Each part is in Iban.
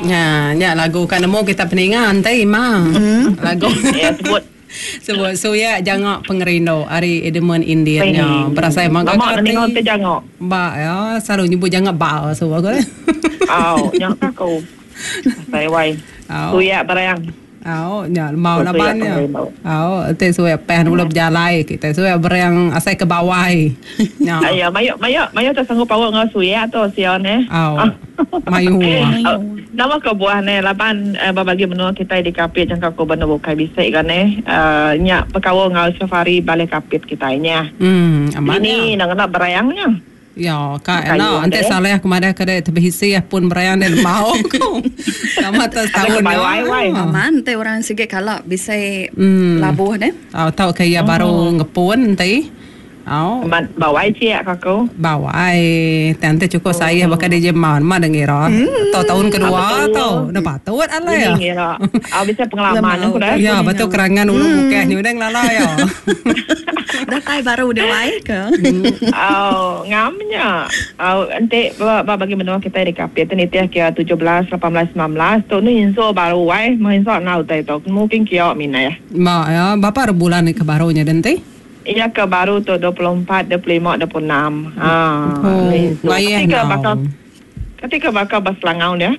Nya, nya lagu ka nemu kita peninga enti ma. Lagu. Ya sebut. Sebut suya jangok pengerindu ari Edmund Indian nya. Berasai mega Lama dah ninga enti jangok. Ba ya selalu nyebut jangok ba suba ko. Au, nya ka aku. Asai wai. Suya berang. Au nya lembau laban nya. Au enti suai peh dulu bejalai kitai suai bereng asai ke bawai. Nya. Aya mayu mayu mayu tak sanggup paut enggau suya tu sia neh. Au. Mayu. Nama kebuah neh laban ba bagi menua kitai di Kapit jangka ku ba endur bukai bisi ga neh nya bekaul enggau safari balih Kapit kitai nya. Em amat nya. Ini enda ngena bereng nya. Ya, ka enda enti saleh aku madah ke dek tebisi pun berang dek lembau ku. Nama te setaun nya. Aman enti orang sigi kala bisi labuh deh. Tau tau ke iya baru ngepun enti. Au. Amat bawai ciak ka aku. Bawai. Tang enti cukup sayah baka DJ Mau nama deh ngira. Tau taun kedua tau. Enda patut alai. Ini ngira. Au bisi pengalaman aku dah. Ya betul kerangan ulu bukeh nya udah ngelala iya. Datai baru dia wai ke. Au ngam nya. Au enti ba ba bagi menua kitai di Kapit ti nitih ke 17, 18, 19 tu ni insul baru wai meh insul enggau utai tu mungkin kio minah. Ba iya bapa re bulan ke baru nya denti? Iya ke baru tu 24, 25, 26. Ha Oh, ni insul. Kati ke baka Kati ke baka ba Selangau dia?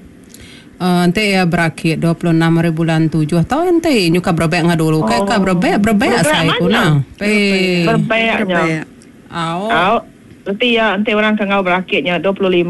Enti iya berakit 26 hari bulan tujuh tau enti nyuka berebek enggau dulu kai ka berebek berebek asai ku nah. Pei. Berebek nya. Au. Au. Reti iya enti orang ke enggau berakit nya 25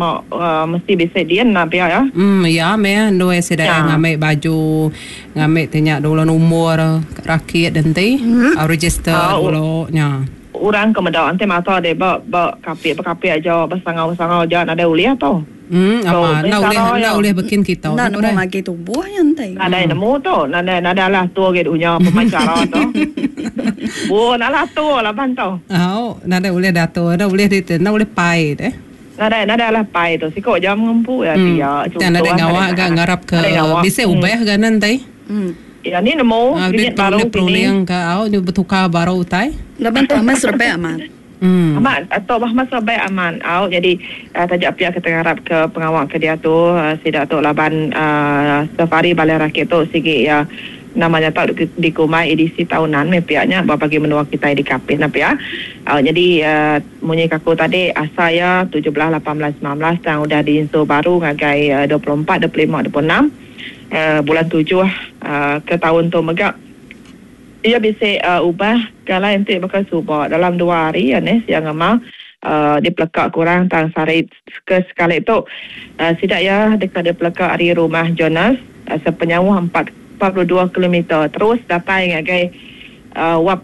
mesti bisi din nah pia ya. Em iya meh endui sida iya ngambi baju ngambi ti nya dulu nombor rakit enti register dulu nya. Orang ke meda enti mata dek ba ba kapit bekapit aja besangau besangau aja nadai ulih tu. Em amat enda ulih enda ulih bekin kita Enda nemu magi tubuh nya enti. Nadai nemu tu nadai nadai alah atur agi dunya pemai chara tu. Bun alah atur laban tu. Au nadai ulih diatur enda ulih di enda ulih pai deh. Nadai nadai alah pai tu siko jam ngempu iya pia chunto. Tang nadai ngawa ga ngarap ke bisi ubah ga ne enti. Iya ni nemu duit baru kini. Peruning ke au nyu betukar baru utai. Laban tu amat serebak amat. Amat tu bah amat serebak amat au jadi taja pia kita ngarap ke pengawa ke diatu sida tu laban safari balai rakit tu sigi iya nama nya tau dikumbai edisi tahunan meh pia nya ba bagi menua kitai di Kapit ne pia. Au jadi munyi ke aku tadi asal iya 17, 18, 19 tang udah diinsu baru ngagai 24, 25, 26. Bulan tujuh ke taun tu mega iya bisi ubah ke alai enti baka suba dalam dua hari iya neh sia ngema dipeleka ke orang tang sehari ke sekali tu sida iya deka dipeleka ari Rumah Jonas sepenyauh 42 kilometer terus datai ngagai Wap.